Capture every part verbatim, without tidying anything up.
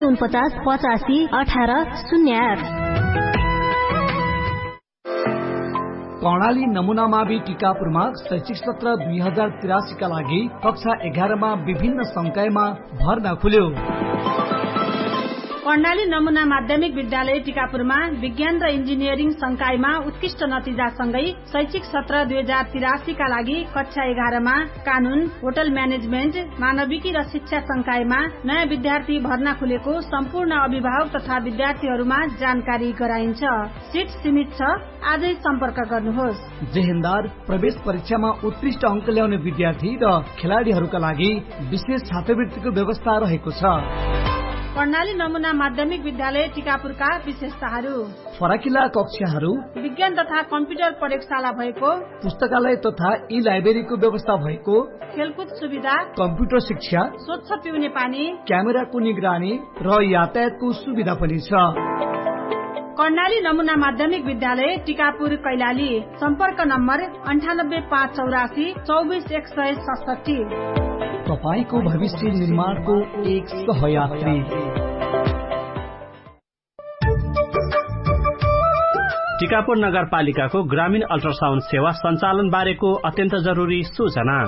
उनपचास पचासी अठार शून्य आठ। कर्णाली नमुनामा बि टिकापुरमा शैक्षिक सत्र दुई हजार तिरासीका लागि कक्षा एघारमा विभिन्न संकायमा भर्ना खुल्यो। कर्णाली नमुना माध्यमिक विद्यालय टिकापुरमा विज्ञान र इन्जिनियरिङ संकायमा उत्कृष्ट नतिजासँगै शैक्षिक सत्र दुई हजार तिरासीका लागि कक्षा एघारमा कानुन, होटल म्यानेजमेन्ट, मानविकी र शिक्षा संकायमा नयाँ विद्यार्थी भर्ना खुलेको सम्पूर्ण अभिभावक तथा विद्यार्थीहरूमा जानकारी गराइन्छ। सिट सीमित छ। आजै सम्पर्क गर्नुहोस्। जेहेन्दार प्रवेश परीक्षामा उत्कृष्ट अङ्क ल्याउने विद्यार्थी र खेलाडीहरूका लागि विशेष छात्रवृत्तिको व्यवस्था रहेको छ। कर्णाली नमुना माध्यमिक विद्यालय टिकापुरका विशेषताहरू। फराकिला कक्षाहरू। विज्ञान तथा कम्प्युटर प्रयोगशाला भएको। पुस्तकालय तथा ई लाइब्रेरीको व्यवस्था भएको। खेलकुद सुविधा। कम्प्युटर शिक्षा। स्वच्छ पिउने पानी। क्यामेराको निगरानी र यातायातको सुविधा पनि छ। कर्णाली नमुना माध्यमिक विद्यालय टिकापुर कैलाली। सम्पर्क नम्बर अन्ठानब्बे पाँच चौरासी चौबिस एक सय सतसट्ठी। तपाईंको भविष्य निर्माणको एक सहयात्री। टिकापुर नगरपालिकाको ग्रामीण अल्ट्रासाउन्ड सेवा सञ्चालन बारेको अत्यन्त जरुरी सूचना।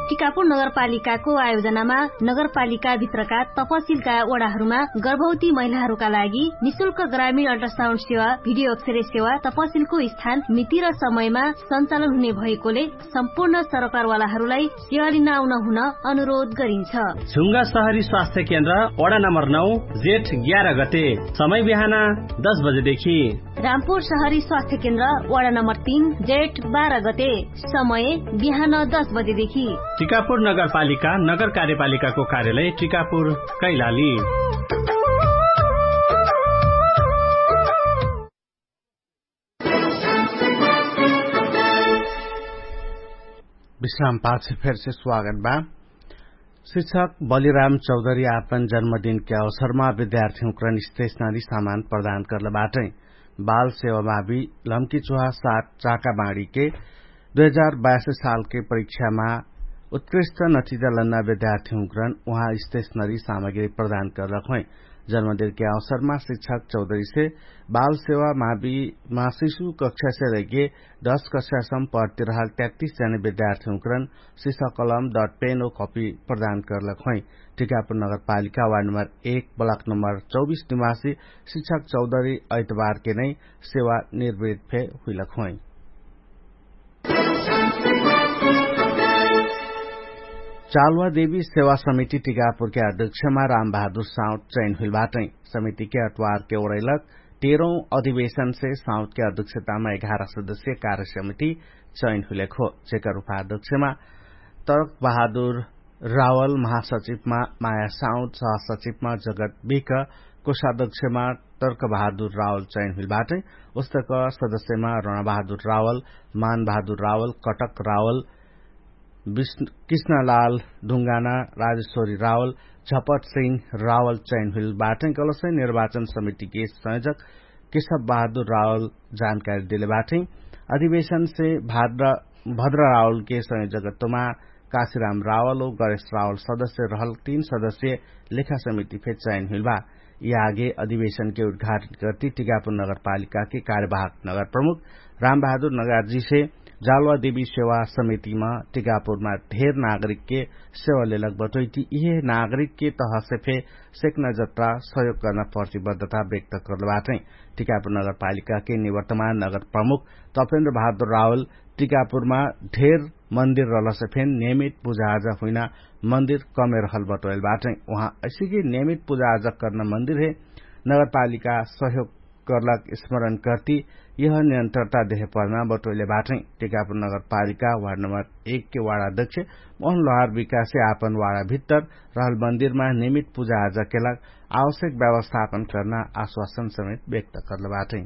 टिकापुर नगरपालिकाको आयोजनामा नगरपालिकाभित्रका तपसिलका वडाहरूमा गर्भवती महिलाहरूका लागि निशुल्क ग्रामीण अल्ट्रासाउन्ड सेवा, भिडियो अक्षरे सेवा तपसिलको स्थान मिति र समयमा सञ्चालन हुने भएकोले सम्पूर्ण सरोकारवालाहरूलाई सेवा लिन आउन हुन अनुरोध गरिन्छ। झुङ्गा सहरी स्वास्थ्य केन्द्र वडा नम्बर नौ, जेठ ग्यार गते, समय बिहान दस बजेदेखि। रामपुर सहरी स्वास्थ्य केन्द्र वडा नम्बर तीन, जेठ बाह्र गते, समय बिहान दस बजेदेखि। टिकापुर नगरपालिका नगर कार्यपालिकाको कार्यालय टिकापुर कैलाली। विश्राम पाछे फेरसे स्वागत बा। शिक्षक बलिराम चौधरी आपन जन्मदिनके अवसरमा विद्यार्थीहुँकरन स्टेशनरी सामान प्रदान करले बाटै। बाल सेवामा भी लम्की चुहा सात चाका बाँडीके दुई हजार बाइस सालके परीक्षामा उत्कृष्ट नतिजा लन्ना विद्यार्थीहुँकरन उहाँ स्टेशनरी सामग्री प्रदान करलक होइ। जन्मदिनके अवसरमा शिक्षक चौधरीसे बाल सेवामा भी मासिसु कक्षासे लैके दस कक्षासम पढ्तिरहल त्यात्तिस जने विद्यार्थीहुँकरन सिसा कलम डट पेन ओ कपी प्रदान करलक होइ। टिकापुर नगरपालिका वार्ड नम्बर एक ब्लक नम्बर चौबिस निवासी शिक्षक चौधरी ऐतबारके नै सेवा निर्वृत फे हुइलक होइ। चालुवा देवी सेवा समिति टिकापुरके अध्यक्षमा रामबहादुर साउट चैन हुइल बाटै। समितिके अटवारके ओरैलक तेरौं अधिवेशनसे साउटके अध्यक्षतामा एघार सदस्य कार्य समिति चैन हुइलक हो, जेकर उपाध्यक्षमा तर्क बहादुर रावल महासचिवमा माया साउद सहसचिवमा जगत बिक कोषाध्यक्षमा तर्क बहादुर रावल चैन हुइल बाटै। उस्तक सदस्यमा रणबहादुर रावल, मानबहादुर रावल, कटक रावल, कृष्णलाल ढुङ्गाना, राजेश्वरी रावल, झपट सिंह रावल चैन हुइल बाटै कलसै निर्वाचन समितिके संयोजक केशव बहादुर रावल जानकारी देले बाटै। अधिवेशनसे भद्र रावलके संयोजकत्वमा काशीराम रावल ओ गणेश रावल सदस्य रहल तीन सदस्य लेखा समिति फे चयन हुइल बा। यि आगे अधिवेशनके उद्घाटन करती टिकापुर नगरपालिकाके कार्यवाहक नगर प्रमुख रामबहादुर नगारजीसे जालुवा देवी सेवा समितिमा टिकापुरमा ढेर नागरिकके सेवा लेलक बटोइती इहे नागरिकके तहसे फे सेक्ना जत्रा सहयोग कर्ना प्रतिबद्धता व्यक्त कर्ल बाटै। टिकापुर नगरपालिकाके निवर्तमान नगर प्रमुख तपेन्द्र बहादुर रावल टिकापुरमा ढेर मन्दिर रहलसे फेन नियमित पुजाआजा हुइना मन्दिर कमे रहल बटोइल बाटै। उहाँ असिके नियमित पुजाआजा कर्ना मन्दिर हे नगरपालिका सहयोग कर्लक स्मरण कर्ती यह नियन्त्रता देहे पर्ना बटोइले बाटै। टिकापुर नगरपालिका वार्ड नम्बर एकके वार्ड अध्यक्ष मोहन लोहार विकासे आपन वार्ड भित्तर रहल मन्दिरमा नियमित पुजाआजा केलक आवश्यक व्यवस्थापन कर्ना आश्वासन समेत व्यक्त कर्ल बाटै।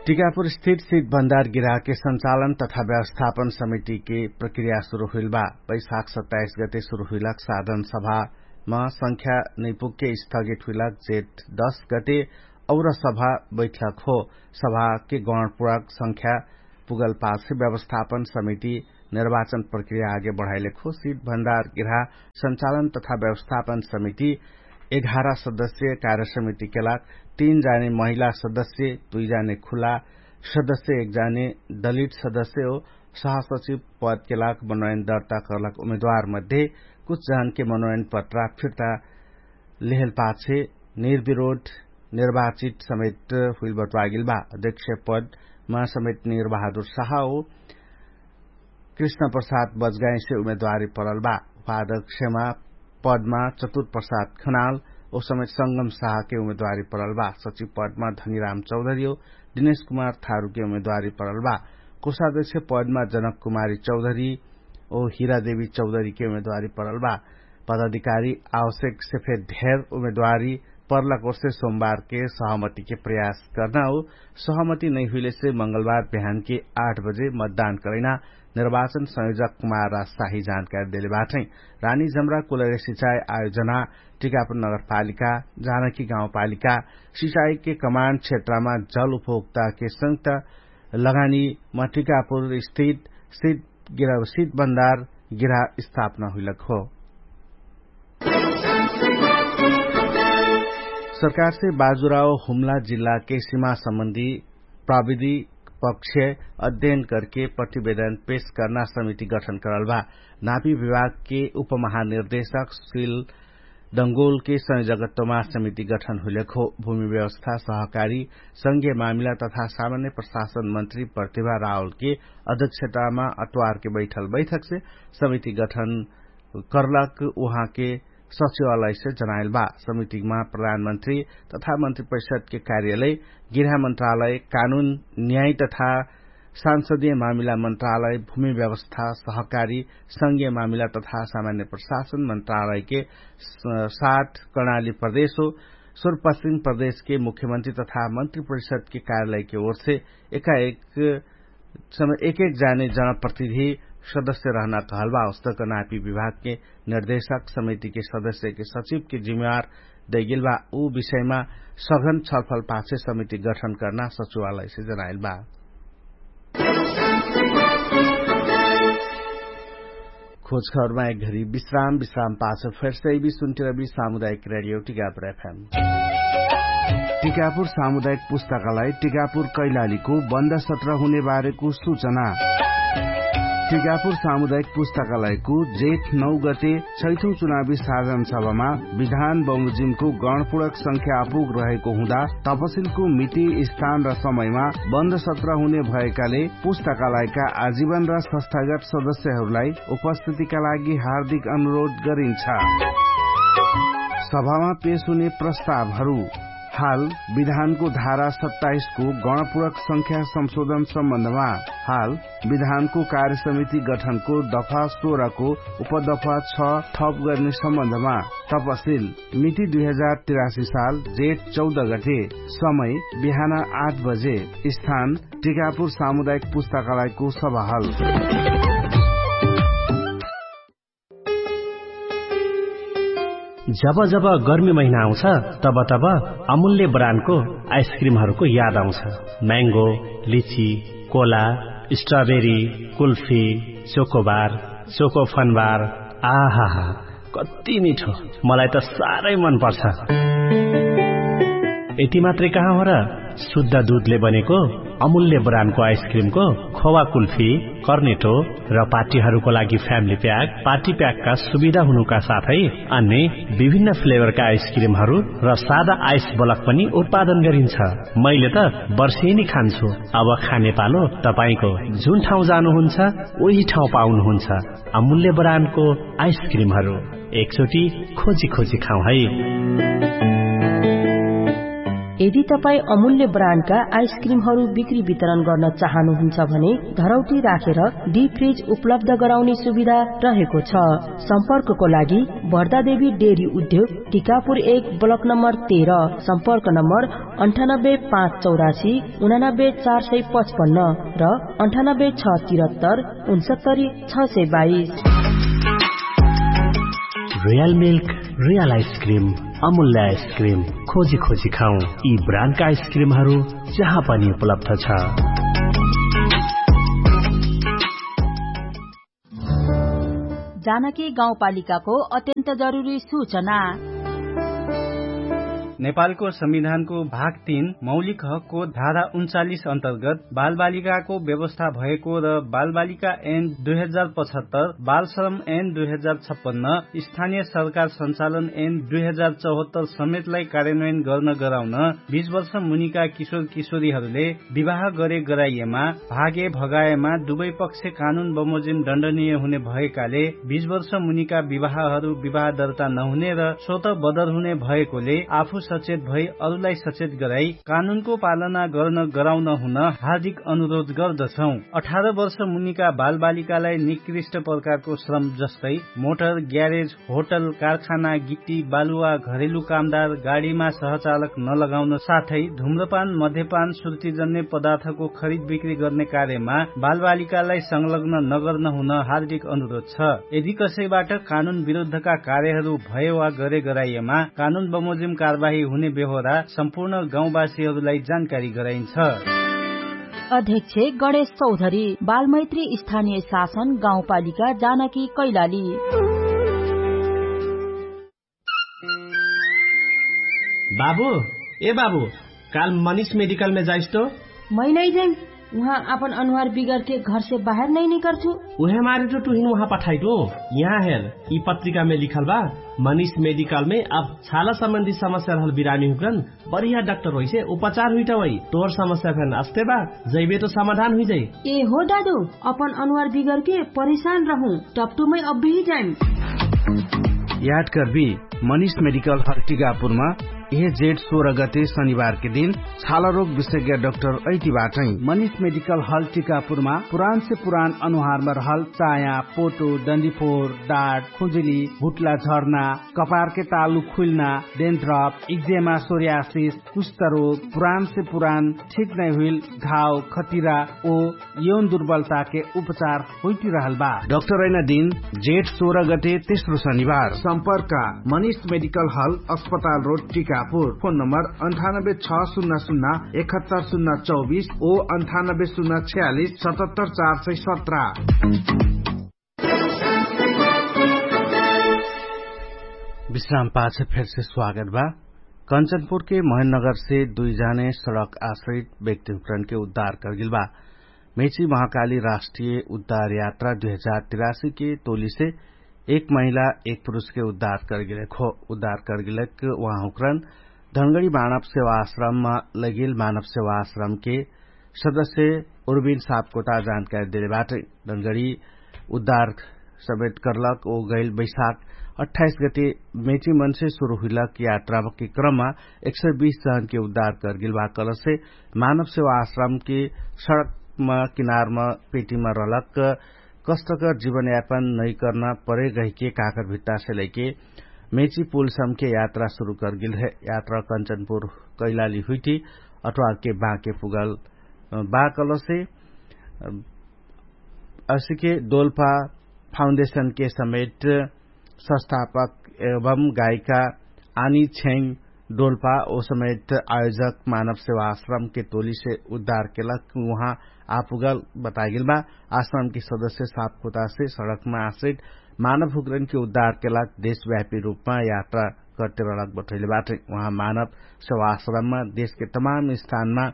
टिकापुर स्थित सिट भण्डार गिराहके सञ्चालन तथा व्यवस्थापन समितिके प्रक्रिया सुरु हुइल बा। बैशाख सत्ताइस गते सुरु हुइलक साधन सभामा संख्या नैपुगके स्थगित हुइलक जेठ दस गते और सभा बैठक हो। सभाके गणपुरक संख्या पुगल पालसे व्यवस्थापन समिति निर्वाचन प्रक्रिया आगे बढाइलेखो सिट भण्डार गिरहा सञ्चालन तथा व्यवस्थापन समिति एघार सदस्य कार्यसमिति केलाक तीन जाने महिला सदस्य, दुई जाने खुला सदस्य, एक जाने दलित सदस्य हो सहसचिव पद केलाक मनोयन दर्ता करलक उमेदवार मध्ये कुछ जहनके मनोयन पत्रा फिर्ता लेहल पाछे निर्विरोध निर्वाचित समेत हुइल बटुवागेल बा। अध्यक्ष पदमा समेत निर्वाहादुर साहा हो कृष्ण प्रसाद बजगाइसे उमेदवारी परल बा। उपाध्यक्षमा पदमा चतुर प्रसाद खनाल ओ समेत संगम साहके उमेदवारी परल बा। सचिव पदमा धनिराम चौधरी हो दिनेश कुमार थारुके उमेदवारी परल बा। कोषाध्यक्ष पदमा जनक कुमारी चौधरी ओ हिरादेवी चौधरीके उमेदवारी परल बा। पदाधिकारी आवश्यक सेफे धेर उमेदवारी पर्लाकोर्से सोमबारके सहमतिके प्रयास कर्ना हो। सहमति नैहुइलेसे मंगलबार बिहानके आठ बजे मतदान करैना निर्वाचन संयोजक कुमार राजशाही जानकारी देले बाटै। रानी जमरा कुलरे सिचाई आयोजना टिकापुर नगरपालिका जानकी गाउँपालिका सिचाईके कमान्ड क्षेत्रमा जल उपभोक्ताके संयुक्त लगानी म टिकापुर स्थित सित गिरा सित बन्दार गिरा स्थापना हुइलक हो। सरकारसे बाजुराओ हुम्ला जिल्लाके सिमा सम्बन्धी प्राविधि पक्ष अध्ययन करके प्रतिवेदन पेश कर्ना समिति गठन करल भा। नापी विभागके उपमहानिर्देशक सिल दंगोलके संयोजकत्वमा समिति गठन हुइलक हो। भूमि व्यवस्था सहकारी संघीय मामिला तथा सामान्य प्रशासन मन्त्री प्रतिभा रावलके अध्यक्षतामा अत्वारके बैठल बैठकसे समिति गठन कर्लक उहाँके सचिवालयसे जनाइल बा। समितिमा प्रधानमन्त्री तथा मन्त्री परिषदके कार्यालय, गृह मन्त्रालय, कानुन न्याय तथा सांसदीय मामिला मन्त्रालय, भूमि व्यवस्था सहकारी संघीय मामिला तथा सामान्य प्रशासन मन्त्रालयके साथ कर्णाली प्रदेश हो सुरपश्चिम प्रदेशके मुख्यमन्त्री तथा मन्त्री परिषदके कार्यालयके ओरसे एकाएक एक एक जाने जनप्रतिनिधि सदस्य रहना कहल बा। उस्तक नापी विभागके निर्देशक समितिके सदस्यके सचिवके जिम्मेवार दैगेल बा। उ विषयमा सघन छलफल पाछे समिति गठन कर्ना सचिवालयसे जनाइल बा। खोजखबरमा एक घरी विश्राम विश्राम पाछ फेर्सै बि सुन्टिरबि सामुदायिक रेडियो टिकापुर एफएम। टिकापुर सामुदायिक पुस्तकालय टिकापुर कैलालीको बन्द सत्र हुने बारेको सुचना। टिकापुर सामुदायिक पुस्तकालयको जेठ नौ गते छैठौं चुनावी साधन सभामा विधान बमोजिमको गणपूर्वक संख्या आपुग रहेको हुँदा तपसिलको मिति स्थान र समयमा बन्द सत्र हुने भएकाले पुस्तकालयका आजीवन र संस्थागत सदस्यहरूलाई उपस्थितिका लागि हार्दिक अनुरोध गरिन्छ। सभामा पेश हुने प्रस्तावहरू। हाल विधानको धारा सत्ताइसको गणपूर्वक संख्या संशोधन सम्बन्धमा हाल विधानको कार्यसमिति गठनको दफा सोह्रको उपदफा छ थप गर्ने सम्बन्धमा तपसिल मिति दुई हजार तिरासी साल जेठ चौध गते। समय बिहान आठ बजे। स्थान टिकापुर सामुदायिक पुस्तकालयको सभाहल। जब जब गर्मी महिना आउँछ तब तब अमूल्य ब्रान्डको आइसक्रिमहरूको याद आउँछ। म्याङ्गो, लिची, कोला, स्ट्रबेरी, कुल्फी, चोकोबार, चोकोफनबार। आहाहा, कति मिठो। मलाई त साह्रै मन पर्छ। यति मात्रै कहाँ हो र, शुद्ध दुधले बनेको अमूल्य ब्रान्डको आइसक्रिमको खोवा कुल्फी, कर्नेटो र पार्टीहरूको लागि फ्यामिली प्याक, पार्टी प्याकका सुविधा हुनुका साथै अन्य विभिन्न फ्लेभरका आइसक्रिमहरू र सादा आइस बलक पनि उत्पादन गरिन्छ। मैले त वर्षेनी खान्छु। अब खाने पालो तपाईंको। जुन ठाउँ जानुहुन्छ उही ठाउँ पाउनुहुन्छ अमूल्य ब्रान्डको आइसक्रिमहरू। एकचोटि खोजी खोजी खाउँ है। यदि तपाईं अमूल्य ब्रान्डका आइसक्रिमहरू बिक्री वितरण गर्न चाहनुहुन्छ भने धरौटी राखेर डिप फ्रिज उपलब्ध गराउने सुविधा रहेको छ। सम्पर्कको लागि भर्दादेवी डेरी उद्योग, टिकापुर एक, ब्लक नम्बर तेह्र। सम्पर्क नम्बर अन्ठानब्बे पाँच चौरासी उनानब्बे चार सय पचपन्न र अन्ठानब्बे छ तिरत्तर उनसत्तरी छ सय बाइस। रियल मिल्क, रियल आइसक्रिम, अमूल्य आइसक्रिम। खोजी खोजी खाउँ यी ब्रान्डका आइसक्रिमहरू जहाँ पनि उपलब्ध छ। जानकी गाउँपालिकाको अत्यन्त जरुरी सूचना। नेपालको संविधानको भाग तीन मौलिक हकको धारा उन्चालिस अन्तर्गत बालबालिकाको व्यवस्था भएको र बालबालिका ऐन दुई हजार पचहत्तर, बालश्रम ऐन दुई हजार छप्पन्न, स्थानीय सरकार सञ्चालन ऐन दुई हजार चौहत्तर समेतलाई कार्यान्वयन गर्न गराउन बीस वर्ष मुनिका किशोर किशोरीहरूले विवाह गरे गराइएमा, भागे भगाएमा दुवै पक्ष कानुन बमोजिम दण्डनीय हुने भएकाले बीस वर्ष मुनिका विवाहहरू विवाह दर्ता नहुने र स्वत बदर हुने भएकोले आफू सचेत भई अरूलाई सचेत गराई कानुनको पालना गर्न गराउन हुन हार्दिक अनुरोध गर्दछौं। अठार वर्ष मुनिका बालबालिकालाई निकृष्ट प्रकारको श्रम जस्तै मोटर, ग्यारेज, होटल, कारखाना, गिट्टी, बालुवा, घरेलु कामदार, गाडीमा सहचालक नलगाउन साथै धुम्रपान, मध्यपान, श्रुतिजन्य पदार्थको खरिद बिक्री गर्ने कार्यमा बालबालिकालाई संलग्न नगर्न हुन हार्दिक अनुरोध छ। यदि कसैबाट कानुन विरुद्धका कार्यहरू भए वा गरे गराइएमा कानुन बमोजिम कारवाही हुने बेहोरा सम्पूर्ण गाउँवासीहरूलाई जानकारी गराइन्छ। अध्यक्ष गणेश चौधरी, बालमैत्री स्थानीय शासन गाउँपालिका जानकी कैलाली। बाबु, ए बाबु, काल मनिष मेडिकलमे जाइस तो? मै नै जाइम। उहाँ आपन अनुहार बिगरके घरसे बाहेर नै निकर्छु। उहे मारे तो तुहिन उहाँ पठाइटु। यहाँ हेर, यि पत्रिकामे लिखल बा, मनिष मेडिकलमे अब छाला सम्बन्धी समस्या रहल बिरामी हुकरन बढिया डाक्टर होइसे उपचार हुइटा होइ। तोर समस्या फेन अस्ते बा, जैबे तो समाधान हुइजाइ। ए हो दादु, अपन अनुहार बिगरके परेशान रहु, टपटुमै अब्बी जाइम। याद करबी, मनिष मेडिकल हल टिकापुरमा इहे जेठ सोह्र गते शनिबारके दिन छालारोग विशेज्ञ डाक्टर ऐति बाटै। मनिष मेडिकल हल टिकापुरमा पुरानसे पुरान अनुहारमा रहल चाया, पोटो, डन्डिफोर, डाट, खुजुली, हुट्ला झर्ना, कपारके तालु खुइल्ना, डेन्थ्रप, इक्जेमा, सोर्यासिस, कुष्ठरोग, पुरानसे पुरान ठिक नै हुइल घाव, खतिरा ओ यौन दुर्बलताके उपचार होइटिरहल बा। डाक्टर ऐना दिन जेठ सोह्र गते तेस्रो शनिबार। सम्पर्क मनिष मेडिकल हल, अस्पताल रोड, टिकापुर। फोन नम्बर अन्ठानब्बे छ सुन्ना सुन्ना एकहत्तर सुन्ना चौबिस ओ अन्ठानब्बे सुन्ना छ्यालिस सतहत्तर चार सय सत्र। विश्राम पाछ फेरसे स्वागत बा। कञ्चनपुरके महेन्द्रनगरसे दुइ जाने सडक आश्रित व्यक्तिहुकरनके उद्धार करगेल बा। मेची महाकाली राष्ट्रिय उद्धार यात्रा दुइ हजार तिरासीके टोलीसे एक महिला एक पुरुषके उद्धार करगेलक हो। उद्धार करगेलक उहाँहुकरन धनगडी मानव सेवा आश्रममा लगिल मानव सेवा आश्रमके सदस्य उर्बिन सापकोटा जानकारी देले बाटै। डनगडी उद्धार समेत करलक ओ गैल बैशाख अट्ठाइस गते मेचिमनसे सुरु हुइलक यात्राके क्रममा एक सय बीस जनके उद्धार करगेल बा कहलसे मानव सेवा आश्रमके सडकमा किनारमा पेटीमा रहलक कष्टकर जीवनयापन नैकर्ना परे गहिके काकर भित्तासे लैके मेची पुलसमके यात्रा सुरु करगेल है। यात्रा कञ्चनपुर कैलाली हुइटी अट्वारके बाँके पुगल बा कहलसे असिके दोल्पा फाउन्डेसनके समेत संस्थापक एवं गायिका आनी छेङ डोल्पा ओ समेत आयोजक मानव सेवा आश्रमके टोलीसे उद्धार केलक उहाँ आपुगल बतागेल बा। आश्रमके सदस्य सापकोटासे सडकमा आश्रित मानव हुकरनके उद्धार केलक देशव्यापी रूपमा यात्रा करते रहलक बठैले बाटै। उहाँ मानव सेवा आश्रममा देशके तमाम स्थानमा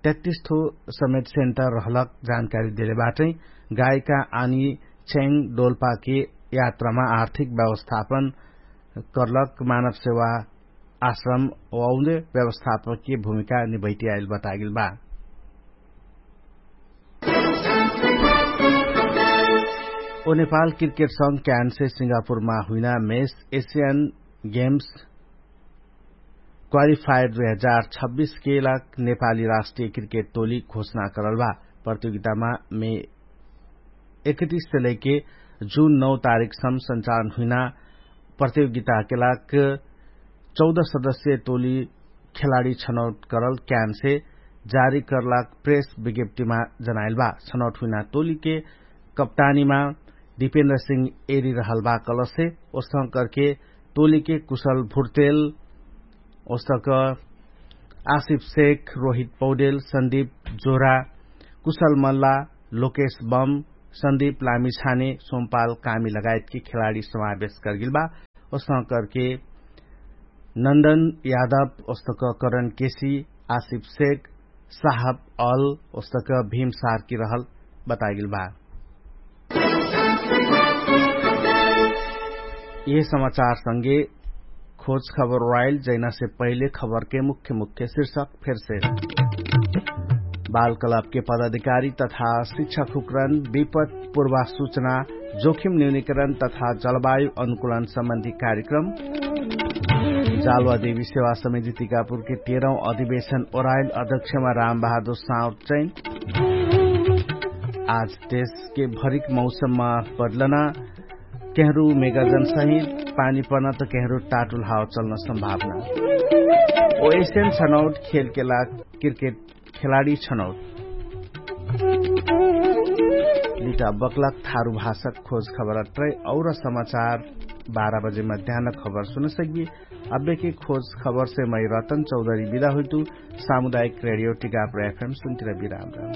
तैतिस ठो समेत सेन्टर रहलक जानकारी देले बाटै। गायिका आनी छेङ डोल्पाके यात्रामा आर्थिक व्यवस्थापन करलक मानव सेवा आश्रम औन्द व्यवस्थापकके भूमिका निभैति आइल बतागेल बा। ओ नेपाल क्रिकेट संग क्यानसे सिङ्गापुरमा हुइना मेस एसियन गेम्स क्वालिफायर दुई हजार छब्बिसके लाग नेपाली राष्ट्रिय क्रिकेट टोली घोषणा करल बा। प्रतियोगितामा मे एकतिससे लैके जुन नौ तारिकसम सञ्चालन हुइना प्रतियोगिताके लाग चौध सदस्य टोली खेलाडी छनौट करल क्यानसे जारी करलाग प्रेस विज्ञप्तिमा जनाइल बा। छनौट हुइना टोलीके कप्तानीमा दिपेन्द्र सिंह एरी रहल बा कलसे ओसंग करके टोलीके कुशल भुर्तेल ओसक आसिफ शेख, रोहित पौडेल, सन्दीप जोरा, कुशल मल्ला, लोकेश बम, सन्दीप लामिछाने सोमपाल कामी लगायतके खेलाडी समावेश करगेल बा। ओसह करके नन्दन यादव ओस्तक करण केसी, आसिफ शेख, साहब अल ओस्तक भीम सारकी रहल बतागेल बा। यह समाचार संगे खोज खबर राइल जैना से पहिले खबर के मुख्य मुख्य शीर्षक फेर से। बाल कलब के पदाधिकारी तथा शिक्षा खुकरन विपत पूर्वा सूचना, जोखिम न्यूनिकरण तथा जलवायु अनुकूलन सम्बन्धी कार्यक्रम। जालवा देवी सेवा समिति टिकापुर के तेरह अधिवेशन ओराइल अध्यक्षमा राम बहादुर साउथ चैन। आज देश के भरिक मौसममा बदलना, केहरू मेगाजन सहित पानी पर्ना त केहरू टाटुल हाव चल्न सम्भावना। ओएसियन छनौट खेलके लाग क्रिकेट खेलाडी छनौट। बिटा बक्लक थारु भाषक खोज खबर अट्रै और समाचार बाह्र बजे मध्यान खबर सुनसक्बी। अब्बेके खोज खबर से मै रतन चौधरी बिदा हुइतु। सामुदायिक रेडियो टिकापुर एफएम सुन्तिर बिराम राम।